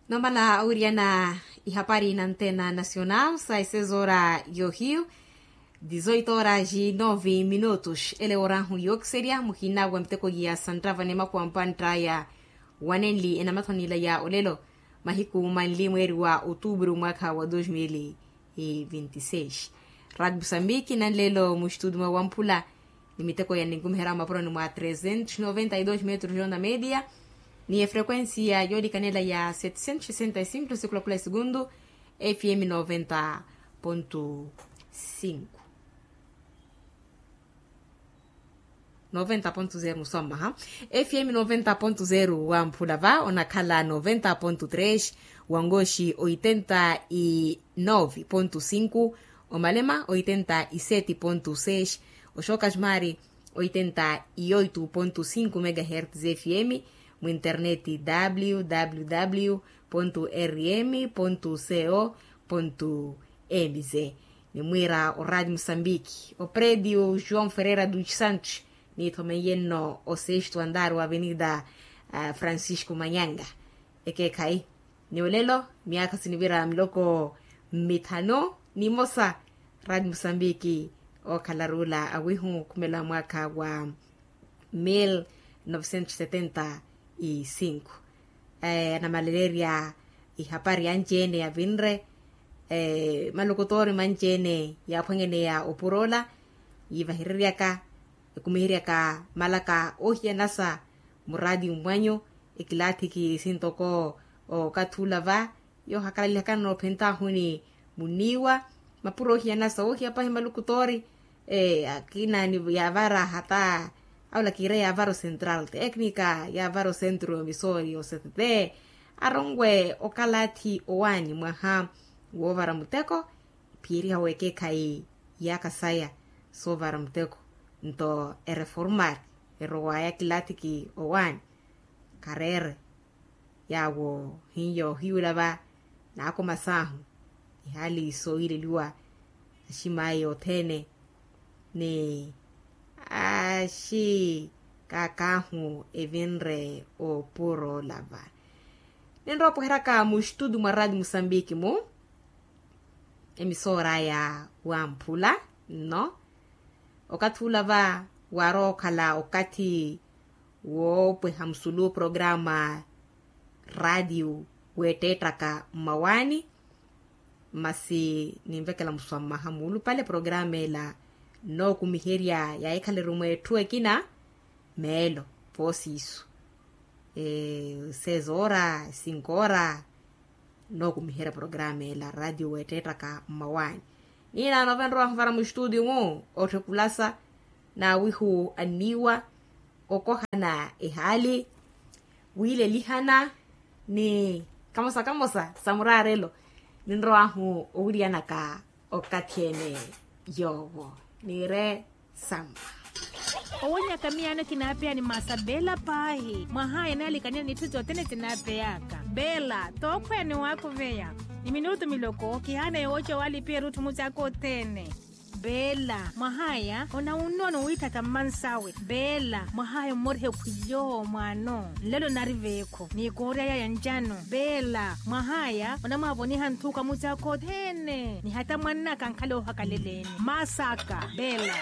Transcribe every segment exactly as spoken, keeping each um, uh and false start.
Nomala owiriyana ihapari na antena nacional sa esezoora yohiyu. Dizoito horas e nove minutos ele orahu yookiserya muhina wa miteko ya santravani makuwa mpantta ya wanenli enamathonela ya olelo mahiku manli mweeri wa otuburu mwaka wa dos mil e vinti seis. Radi musambiki nanlelo mustudi mwa wamphula ni miteko ya ninkumiherya mapuroni mwa trezentos noventa e dos metros yona media ni efrequencia yoolikanela ya setecentos sesenta e cinco sikulakhula e segundu. Fm noventa ponto cinco. Noventa ponto zero musommaha. Fm noventa ponto zero wamphula va onakhala noventa ponto tres, wangoxi oitenta e nove ponto cinco, omalema oitenta e sete ponto seis, oxoka xmari oitenta e oito ponto cinco megahertz fm, mu interneti www rm co mz. Nimwiira o radio musambiki o predio joão ferreira dos santos niithomenyenno o sexto andar wa avenida francisco manyanga. Ekeekhayi ni olelo myakha sinivira miloko mmithanu nimosa. Radio musambiki ookhala ruula awihu khumela mwaka wa mil novecentos setenta e cinco. Anamaleleerya ihapari anci-ene yavinre malukutoori manci-ene yaaphwanyaneya opuro ola yiivahereryaka ekumiheryaka malaka oohiyanasa muraati mmwanyu. Ekilaathiki sintoko okathi ula va yoohakalalihakana noophentahuni muniiwa mapuro oohiyanasa oohiya pahi malukutoori. Akina yaavara hata aula kiire yaavara o central técnica yaavara o centro misori o ctt aronwe okalathi owaani mwaha woovara muteko. Phiyeriha wekeekhayi yaakha saya soovara muteko nto ereformari erowaya kilathiki owaani kareere. Yaawo hiyo hiyula va naakoma saahu ihaali sooyileliwa aximaayi othene ni axi kaakaahu evinre opuro lava. Ninrowa opweheryaka mustutu mwa radio musambiki mu emisooraya wamphula nno okathi ula va waarowa okhala okathi woopweha musulu programa radio weetteettaka mmawaani. Masi ninvekela muswa mmaha muulupale programa ela nnookumiherya yaahikhala erumwa etthu ekina meelo voosiisu sezoora sinkoora. Nnookumiherya programa ela radio weetteettaka mmawaani. Niinaano vanrowahu vara mustudio mu otthukulasa naawihu anniiwa okohana ehaali wiilelihana ni kamosa kamosa sa muraarelo. Ninrowahu owiriyanaka okathi-ene yoowo niire samma. Owonyaka miyaano kinaapeya ni masa beela paahi mwahaya naalikaniya n'itthu sothene sinaapeyaka beela tookhweya ni waakuveya ni minutu miloko kihaana yooca owaalipiya erutthu mucaaka othene. Beela mwahaya onawunnoona owiithatha mmansawe beela mwahaya ommorihe khwiyo mwaano nlelo nari veekho ni koorya yaya ncano beela mwahaya onamwaavoniha nthuka mucaaka othene ni hata mwannaka ankhale oohakaleleeni maasaka beela.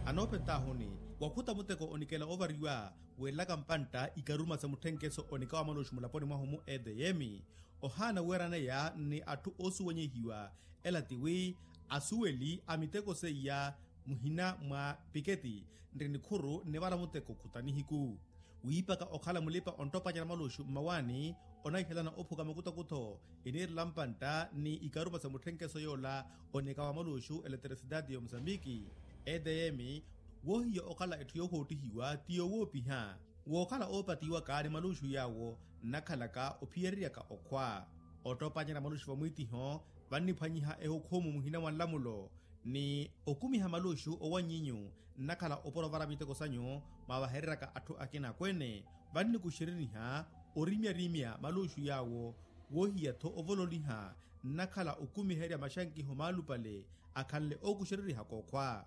Anoophentahuni wakhuta muteko onikela ovariwa weelaka mpantta ikaruma sa mutthenkeso onika wa malooxi mulaponi mwahu mu edm ohaana weeraneya ni atthu oosuwenyehiwa. Ela tiwi asuweli a miteko seiya muhina mwa piketi nri nikhuru nivara muteko khuta nihiku wiipaka okhala mulipa onttopanyana malooxi mmawaani onahihelana ophuka makutakutho iniirela mpantta ni ikaruma sa mutthenkeso yoola onika wa malooxi eletrisidade ya omusambiki. Edm woohiya okhala etthu yoohoottihiwa ti yoowoopiha wookhala oopatiwaka ni malooxi yaawo nnakhalaka ophiyereryaka okhwa ottoopanyana malooxi vamwiitiho vanniphwanyiha ehukhumu muhina mwa nlamulo ni okumiha malooxi owanyinyu nnakhala opora ovara miteko sanyu mwaavahereryaka atthu akina akweene vannikuxereriha orimyarimya malooxi yaawo woohiya-tho ovololiha nnakhala okumiherya maxankiho maalupale akhanle ookuxererihaka okhwa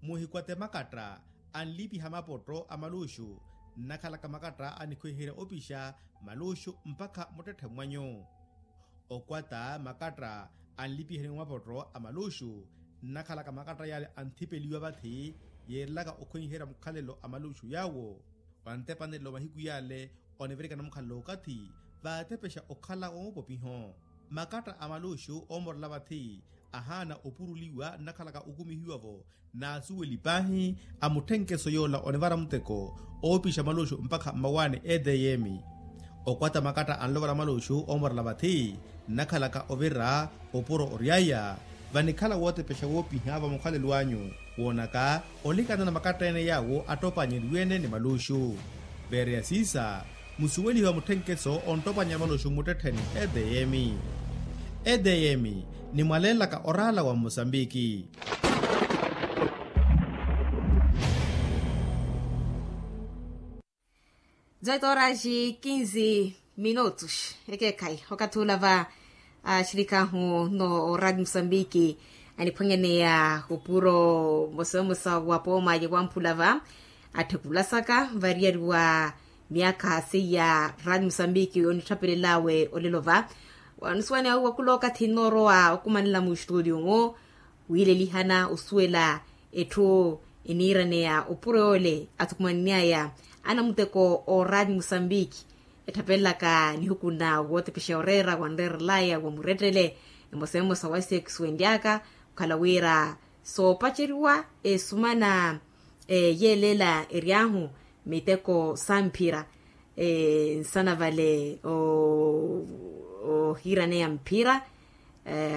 muhikwate makatta Anlipiha mapotto a maluxu nnakhalaka makatta anikhwiherya opixa maluxu mpakha muttetthe mwanyu. Okwata makatta anlipiherya mapotto a maluxu nnakhalaka makatta yaale anthipeliwa vathi yeerelaka okhwiherya mukhalelo a maluxu yaawo. Wantepanelo mahiku yaale onivirikana mukhalelo okathi vaatepexa okhala woopopiho. Makatta a maluxu oomorela vathi ahaana opuruliwa nnakhalaka okumihiwa-vo n'asuweli paahi a mutthenkeso yoola onivara muteko oopixa maluxu mpakha mmawaani etm. Okwata makatta anlovara maluxu oomorela vathi nnakhalaka ovira opuro oryaya vanikhala wootepexa woopiha va mukhalelo anyu woonaka olikana na makatta ene yaawo attopannyeriwe-ene ni maluxu. Veereya siisa musuwelihe wa mutthenkeso onttopannyerya maluxu mmuttettheni etm. Etm ni mwaleenlaka oraala wa mmosambiki. Zoito oraxi kinzi minutos ekeekhayi okathi ula va axirikaahu no oradio musambiki aniphwanyaneya opuro mosamosa wa pooma ya wamphula va atthekulasaka variyari wa myaakha seiya radio musambiki onitthapelelawe olelo va. Wanusuwani awi wa kula okathi nnoorowa okumanela mu estudio-mu wiilelihana osuwela etthu eniiraneya opuro yoole athukumanny'aya anamuteko ooraani musambiki etthapelelaka nihuku nna wootepexa oreera wanreerelaya wa murettele emosa emosa wa esexu enly'aka okhala wira soopaceriwa esumana yeelela ery'ahu miteko samphira nsana vale ohiiraneya mphira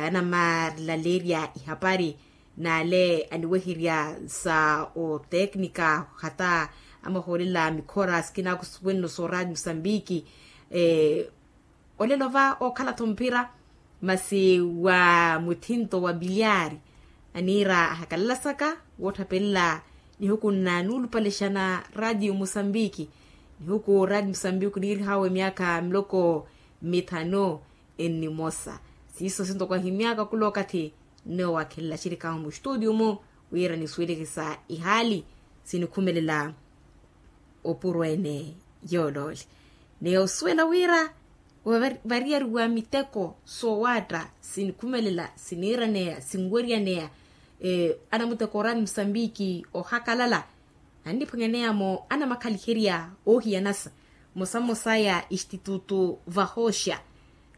anamaalaleerya ihapari n'ale aniweherya sa oteknika hata amahoolela mikhora sikinaku suwenno sooraati musambiki olelo va ookhala-tho mphira masi wa muthinto wa biliari aniira ahakalalasaka wootthapelela nihuku nna nuulupalexana radio musambiki nihuku radio musambiki oniirih'awe myaakha miloko mithanu ennimosa siiso sintoko ahimy'aka kula okathi nne owaakhelela axirik'ahu muxituudiyu-mu wira nisuweleke sa ihaali sinikhumelela opuro ene yooloole ni osuwela wira variyari wa miteko soowaatta sinikhumelela siniiraneya sinweryaneya anamuteko oraani musambiki ohakalala anniphwanyaneya-mo anamakhaliherya oohiyanasa mmosa mmosaya extitutu vahoxa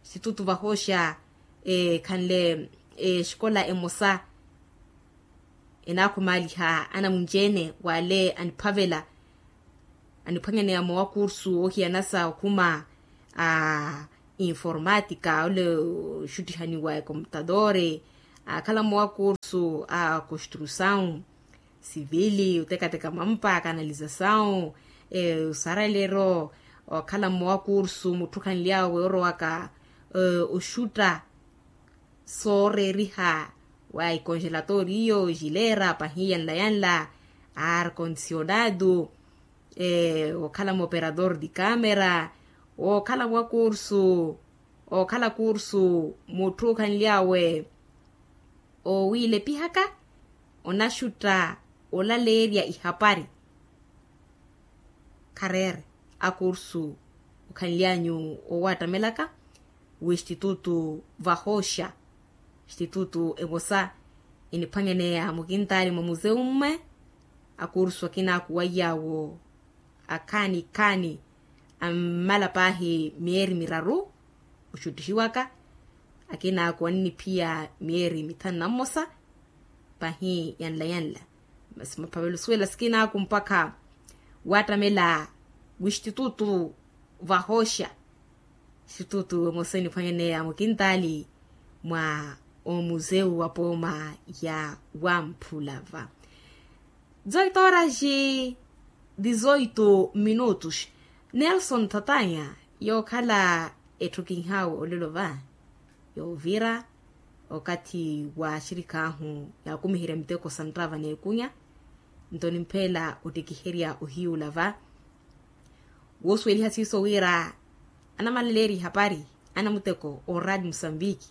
extitutu vahoxa ekhanle exikola emosa enaakhumaliha anamunci-ene wale aniphavela aniphwanyaneya-mo wa kursu oohiyanasa okhuma a informatika ole oxuttihaniwa ekomputadore akhala-mo wa kursu a construsaw sivili otekateka mampa kanalizasaw osaraleero okhala-mo wa kursu mutthu khanly'awe orowaka oxutta sooreeriha wa ikonjelatoriyo xileera pahi yanla yanla arkondisionado okhala mooperador di kamera okhala mwa kursu okhala kursu mutthu okhanly'awe owiilepihaka onaxutta olaleerya ihapari khareere akursu okhanly'anyu owaattamelaka w'extitutu vahoxa extitutu emosa eniphwanyaneya mukintaali mwa museu mme akursu akina akuwaiy'awo akhaani khaani ammala paahi myeeri miraru oxuttixiwaka akina akuwa nniphiya myeeri mithanu na mmosa pahi yanla yanla masi maphavela osuwela sikina aku mpakha waattamela w'extitutu vahoxa extitutu emosa eniphwanyaneya mukintaali mwa omuseu wa pooma ya wamphula va dezoito horas e dezoito minutos nelson thatanya yookhala etthu kinhaawe olelo va yoovira okathi wa axirikaahu yaakumiherya miteko sa nttava n'ekunya nto nimpheela ottikiherya ohiyuula va woosuweliha siiso wira anamalaleerya ihapari anamuteko ooraati musambiki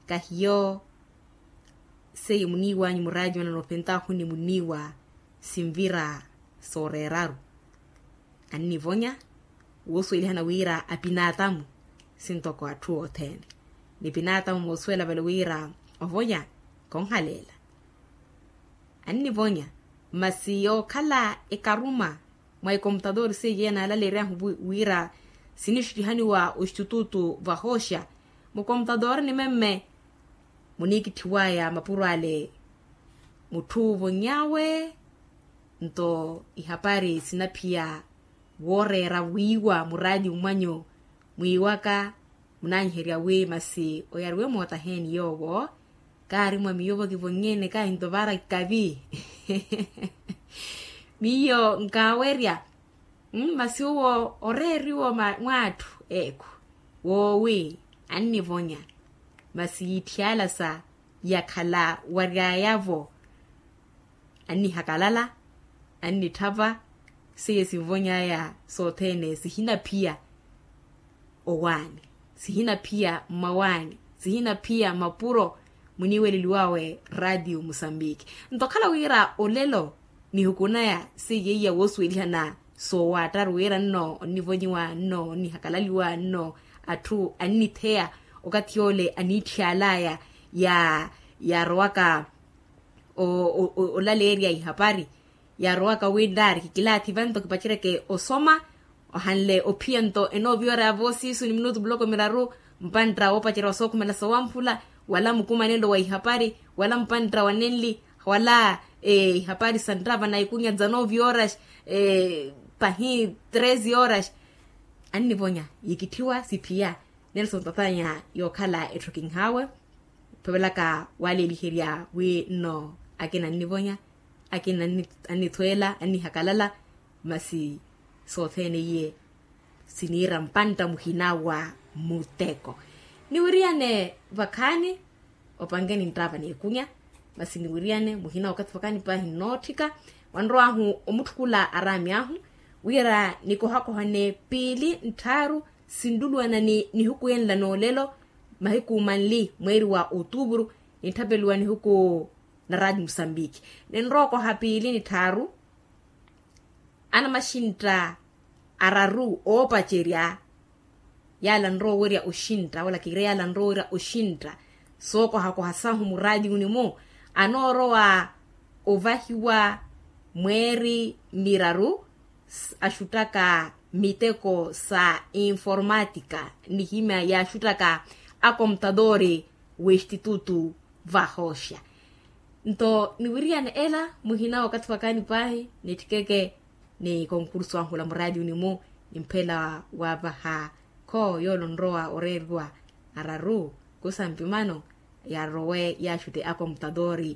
kahiyo seiye muniiwanyu muraati manano ophentaahu ni muniiwa sinvira sooreeraru. Annivonya woosuwelihana wira apinaatamu sintoko atthu othene. Ni pinaatamu moosuwela vale wira ovonya konhaleela. Annivonya masi yookhala ekaruma mwa ekomputadori seiye naalaleeryahu wira sinixuttihaniwa oxitututu vahooxa mukomputadori ni memme muniikitthiwaya mapuro ale mutthu ovony'awe. Nto ihapari sinaphiya wooreera wiiwa muraatiyo mwanyu mwiiwaka munanyiherya wi masi oyariwe mootaheeni yoowo kaari mwa miyo vakivonnyene kahinto vaara kikavi. Miyo nkaawerya masi owo oreeriwa mwa atthu eekhu woowi annivonya masi yiitthiyala sa yakhala waryaya-vo annihakalala annitthava seiye sinvony'aya sothene sihinaphiya owaani sihinaphiya mmawaani sihinaphiya mapuro muniiweleliwawe raatiyo musambiki. Nto okhala wira olelo nihukunaya seiye iya woosuwelihana soowaattaru wira nno onnivonyiwa nno onnihakalaliwa nno atthu annitheya okathi yoole aniitthiyalaya ya yaarowaka olaleerya ihapari yaarowaka wi nraari kikilaathi vanto kipaceryeke osoma ohanle ophiya nto enooviyoraya voosiisu ni minutu muloko miraru mpantta woopacerya wasookhumela sowamphula wala mukumanelo wa ihapari wala mpantta wa nenli wala ihapari sa nttava na ikunya tsa nove horas pahi treze horas. Annivonya yikitthiwa siphiya nelson tatanya yookhala etthu kinhaawe. Phevelaka waleeliherya wi nno akina annivonya akina annithweela annihakalala masi sothene iye siniira mpantta muhina wa muteko. Niwiriyane vakhaani opankeni nttava n'ekunya masi niwiriyane muhina wakathi vakhaani paahi nnootthika wanrow'ahu omutthukula araami ahu wira nikohakohane piili ntthaaru sinluluwana ni nihuku yenla n'olelo mahiku manli mweeri wa otuupuru nitthapeliwa nihuku na raati musambiki ninrookoha piili ni tthaaru anamaxintta araru oopacerya yaala nrowerya oxintta wala kiire yaala nrowerya oxintta sookohakoha sahu muraatiyuni-mu anoorowa ovahiwa mweeri miraru axuttaka miteko sa informatika nihimya yaaxuttaka akomputatoori w'exitutu vahooxa. Nto niwiriyane ela muhina wakathi wakaani paahi nitthikeke ni konkursu ahula muraatiyuni-mu nimpheela waavaha kho yoole onrowa oreeriwa araru kusa mpimano yarowe yaaxutte akomputatoori